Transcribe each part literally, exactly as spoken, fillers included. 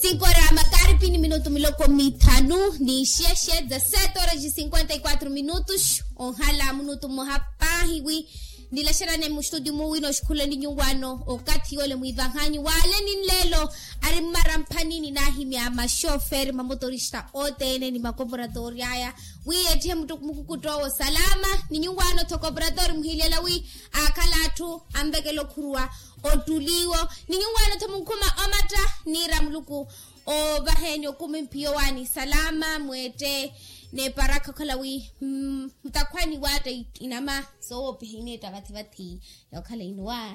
Cinco horas makaripi ni minutu miloko mithanu ni xexe dezasete horas de cinquenta e quatro minutos. Onhala minutu mmoha paahi wi nilaxerane mustudio muwino oxikhulani nyuwaano okathi yole mwivahanyu waaleni nlelo. Ari mmara mphanini naahimya maxoferi mamotorista othene ni makoporatori aya wi ettihe mukukuttowo salama. Ni nyuwaano tho koporatori muhilyela wi akhala atthu anvekela okhuruwa ottuliwo ni nyuwaano tho munkhuma omatta niira muluku ovaheni okumi mpiyo waani salama mweette. Neparakha okhala wi mutakhwani waatta inama soowopiha ineetta vathi vathi yookhala inuwa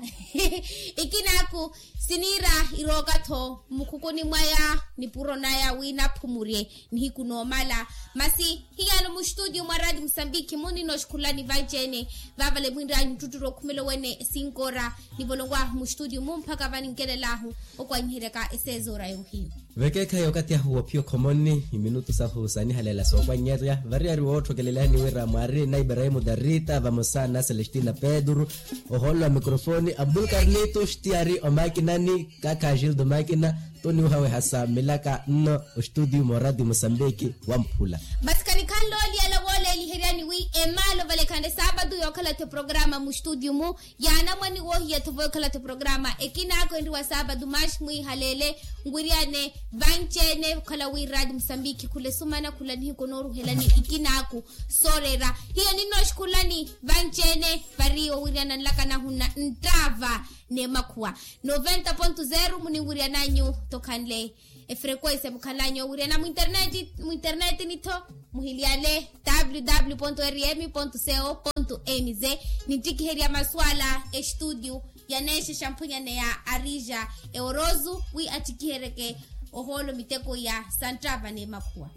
ikinaaku siniira irooka-tho mmukhukuni mwaya nipuro naya wi naphumurye nihiku noomala. Masi hiyano muxitudio mwa radio musambiki munina oxikhulani vanci-ene vavale mwinranyu nttutturu okhumela owene sinkora nivolonwahu muxitudio mu mpakha vaninkelelaahu okwanyiheryaka esezoora yohiyo. Vekeekhayi okathi ahu wophiya okhomoni minutu sahu saanihalela sookwannyerya variyari wootthokelelani wira mwaari na ibrahimu darita vamosa na celestina pedru. Ohoolo wa mikrofoni abdul karnitu xtiyari omakinani kakha gildo makina. Toniwuhaweha sa milaka nno ostudio morati musambiki wamphula. Masi kanikhanle oliyala wooleeliheryani wi emaalo vale khande saapatu yookhala-tho eprograma mustudio mu yaanamwani woohiya-tho vookhala-tho eprograma ekinaaku enriwa saapatu mash mwiihaleele nwiriyane vanci-ene okhala wi radio musambiki khula esumana khula nihiku nooruhelani ikinaaku sooreera. Hiyo ninooxikhulani vanci-ene vari owiriyana nlaka nahunna nttaava n'emakhuwa noventa ponto zero muninwiriyananyu tokhanle efrequency mukhalanyu owiriyana mwinterneti mwinterneti ni-tho muhiliyale www rm co nz ninttikiherya maswala estudio ya neexe xamphunyaneya arija eorozu wi attikiheryeke ohoolo miteko ya santtava n'emakhuwa.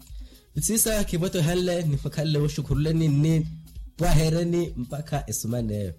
Siisa khivwettohanle nifwakhanle woxukhuruleni nni pwahereni mpakha esumaneyo.